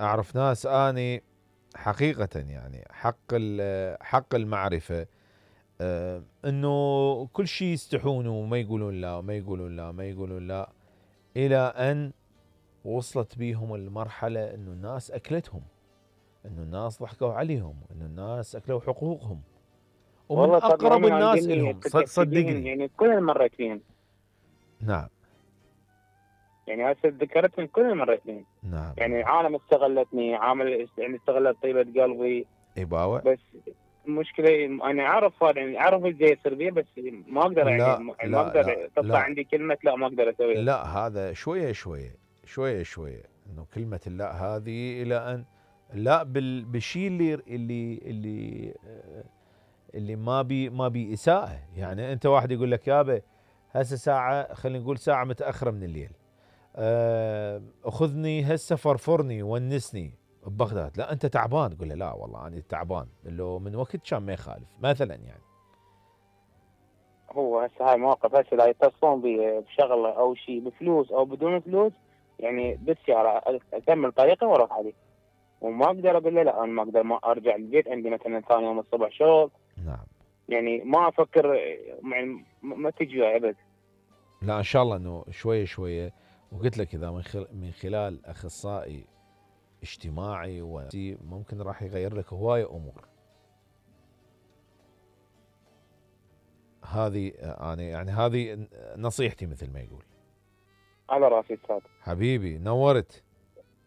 اعرف ناس اني حقيقة يعني حق المعرفة، انه كل شيء يستحون وما يقولون لا وما يقولون لا وما يقولون لا، الى ان وصلت بيهم المرحلة انه الناس اكلتهم، انه الناس ضحكوا عليهم، انه الناس اكلوا حقوقهم، ومن والله صدق اقرب هم الناس عندني الهم اتذكرت بيهم، صدقني. يعني كل مريت فيهم. نعم. يعني هسه ذكرتهم كل مريت فيهم. نعم. يعني عالم استغلتني، يعني استغلت طيبة قلبي. إباوة. بس المشكلة انا اعرف هذا، يعني اعرف ايش جاي يصير بيه، بس ما اقدر، يعني لا ما لا لا اقدر تطلع لا عندي كلمة لا ما اقدر اسويها. لا، هذا شوية شوية شوية شوية، انه كلمة اللا هذه الى ان لا بالشيء اللي ما بي اساءة. يعني انت واحد يقول لك يابا هسه ساعة، خلينا نقول ساعة متأخرة من الليل، اخذني هسه فرفرني ونسني ببغداد، لا انت تعبان، تقول له لا والله انا تعبان، لو من وقت كان ما يخالف مثلا يعني. هو هسه هاي مواقف، هسه اذا يتصلون بي بشغله او شيء بفلوس او بدون فلوس، يعني بالسيارة اكمل طريقي واروح عليه، وما اقدر اقول له لا، انا ما اقدر ما ارجع البيت، عندي مثلا ثاني يوم الصبح شغل. نعم. يعني ما افكر، يعني ما تجي وياي ابد. لا ان شاء الله انه شوية شوية، وقلت لك اذا من خلال اخصائي اجتماعي ممكن راح يغير لك هواية امور. هذه انا يعني هذه نصيحتي مثل ما يقول. على راسي استاذ. حبيبي نورت.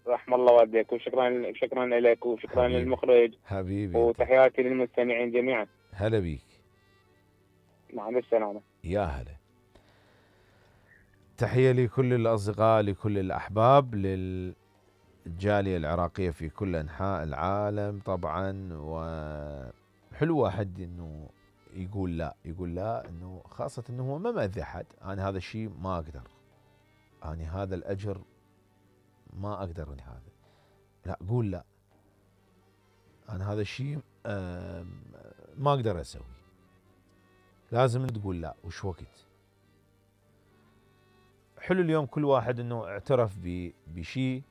رحم الله والديك، وشكرا شكرا لك، وشكرا حبيبي للمخرج، حبيبي انت. وتحياتي للمستمعين جميعا. هلا بيك. مع السلامة. يا هلا. تحية لكل الأصدقاء، لكل الأحباب، للجالية العراقية في كل أنحاء العالم طبعا. وحلو واحد أنه يقول لا، يقول لا، أنه خاصة أنه هو ما مأذي أحد. أنا هذا الشيء ما أقدر، أنا هذا الأجر ما أقدر، من هذا لا، قول لا، أنا هذا الشيء ما أقدر أسوي. لازم تقول لا، وش وقت. حلو اليوم كل واحد أنه اعترف بشيء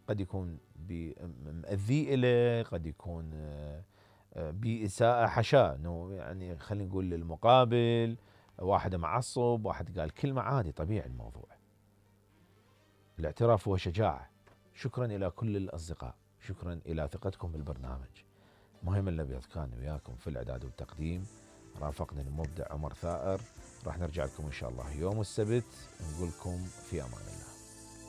قد يكون مأذي إليه، قد يكون بإساءة، حشاه انه يعني خلينا نقول للمقابل، واحد معصب، واحد قال كلمة، عادي طبيعي الموضوع. الاعتراف هو شجاعة. شكرا إلى كل الأصدقاء، شكرا إلى ثقتكم بالبرنامج. مهم الأبيض كان وياكم في الإعداد والتقديم، رافقني المبدع عمر ثائر. راح نرجع لكم إن شاء الله يوم السبت، نقول لكم في أمان الله.